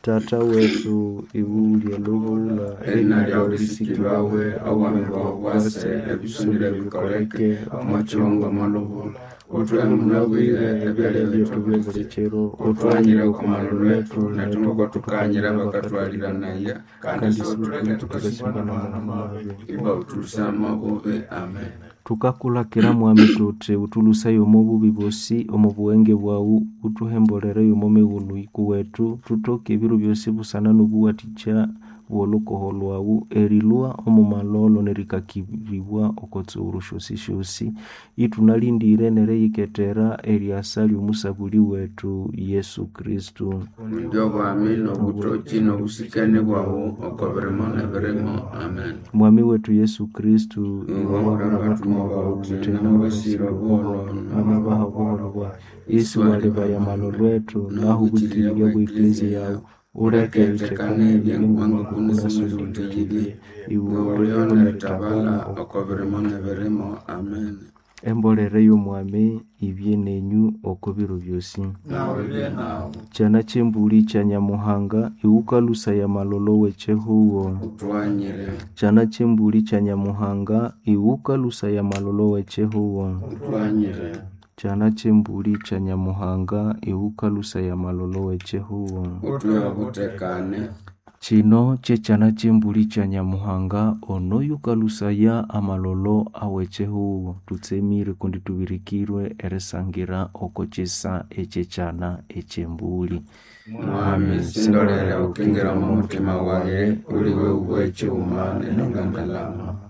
Tata wetu iwe lubula Erina lyawu lisikibwawe, obwami bwawu bwase, ebisonire bikoleke, omo kihongo omo lubula. Uthuhe munabwire ebyalya byethu buli kiro Uthuhanyire oko malholo ethu nethu ngoko thukahanyira abakathwalhiranaya kandi siwuthuleke thukasimbana n'amahano mabi. Iba uthuluse omo bubi. Amen. Tukakulakira mwami tuthi uthuluseye omo bubi bosi omo bughenge bwawu uthuhembolere omo mighulhu ikuwethu thuthoke ebiro byosi busana n'obuwathikya bw'olhukoho lwawu erilhwa omo malholo nerikakiribwa oko tsuguru syosisyosi ithunalindire neriyikethera eryasa ly'omusabuli wethu Yesu Kristo. Kundi obwami n'obuthoki n'obusikani bwawu oko birimo n'ebirimo. Amen. Mwami wethu Yesu Kristo Iwe wahulira abathumwa bawu uthi namabasira obuholho namabaha obuholho bwawu isi walibaya amalolo ethu nahu obukirirya bwa eklezia yawu Uleke ithekane ebyengumanga kunasimuliwuthekibye iwe ulio nerithabala oko birimo n'ebirimo. Amen. Embolere y'omwami ibye nenyu oko biro byosi. Nawe ibye nawu. Kyana ky'embuli kya Nyamuhanga iwukalusaya amalolo w'ekyihugo. Uthuhanyire. Kyana ky'embuli kya Nyamuhanga iwukalusaya amalolo w'ekyihugo. Uthuhanyire. Kyana ky'embuli kya Nyamuhanga iwukalusaya amalolo w'ekyihugo. Uthuhe obuthekane. Kino kyekyana ky'embuli kya Nyamuhanga ono yukalusaya amalolo aw'ekyihugo. Thutsemire kundi thubirikirwe erisangira oko kyisa ekyekyana eky'embuli. Mwami sindolere ukingira omo muthima wayi uliwe uwe ekighuma nenengangalama.